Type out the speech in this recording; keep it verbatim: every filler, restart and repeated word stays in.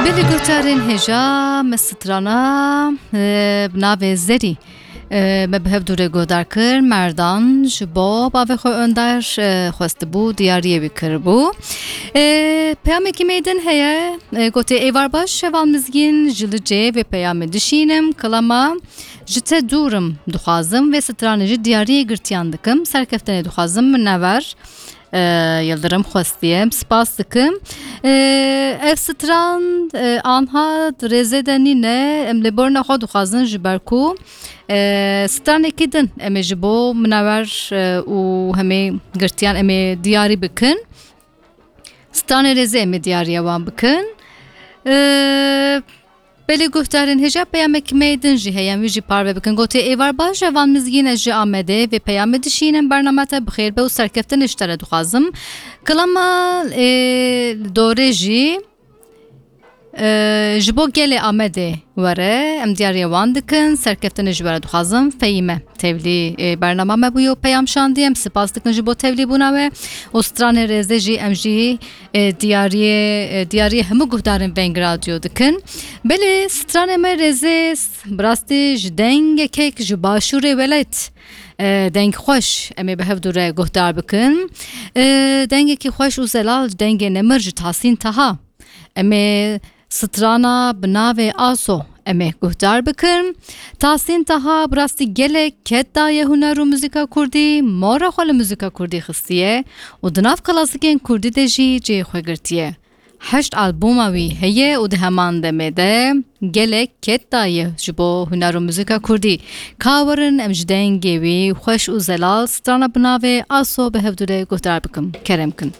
Belê guhdarên hêja, me strana, e, bi navê Zerî, e, me bi hev dû re guhdar kir. Merdan ji bo bavê xwe Önder, e, xwestibû, diyariyê wî kiribû. E, peyamekî me din heye, e, gotê, "Êvar baş, heval Mizgîn, ji Licê vê peyamê dişînim, kilama ji te dûr im, dixwazim vê stranê ji diyariyê girtiyan dikim, serkeftinê dixwazim, minever." E, Yildirim xwestiye. Em spas dikim. E, ev stran, e, anha rêzê de nîne. Em lê borna xwe dixwazin ji ber ku, e, stranekî din em ê ji bo minewer, e, û hemê girtiyan em ê diyarî bikin. Stranê rêzê em ê diyariya wan bikin. E, Belê guhdarên hêja, peyamekî me din jî heye, em wî jî parve bikin. Gotê, "Êvar baş, heval Mizgîn, ez ji Amedê vê peyamê dişînim, bernama te bi xêr be û serkeftinê ji te re dixwazim." Kilama, e, dorê jî, e, ji bo gelê Amedê were, em diyariya wan dikin, serkeftinê ji we re dixwazim. Fehîme tevlî, e, bernama me bûyo, peyam şandiye, em spas dikin ji bo tevlîbûna we û stranê rêzê jî em jî e, diyariyê, e, diyariyê hemû guhdarên Veng Radyo dikin. Belê stranê me rêzê s-, bi rastî ji dengekek ji başûrê welat, e, deng xweş em ê bi hev dû re guhdar bikin. E, dengekî xweş û zelal, dengê nemir ji Tahsîn Taha. Em ê strana bi navê Aso em ê guhdar bikin. Tahsîn Taha bi rastî gelek ket daye huner û muzîka kurdî, mora xwe li muzîka kurdî xistiye û di nav klasîkên kurdî de jî cihê xwe girtiye. Heşt albûma wî heye û di heman demê de gelek ket daye ji bo huner û muzîka kurdî. Ka werin em ji dengê wî xweş û zelal strana bi navê Aso bi hev dû re guhdar bikin. Kerem kin.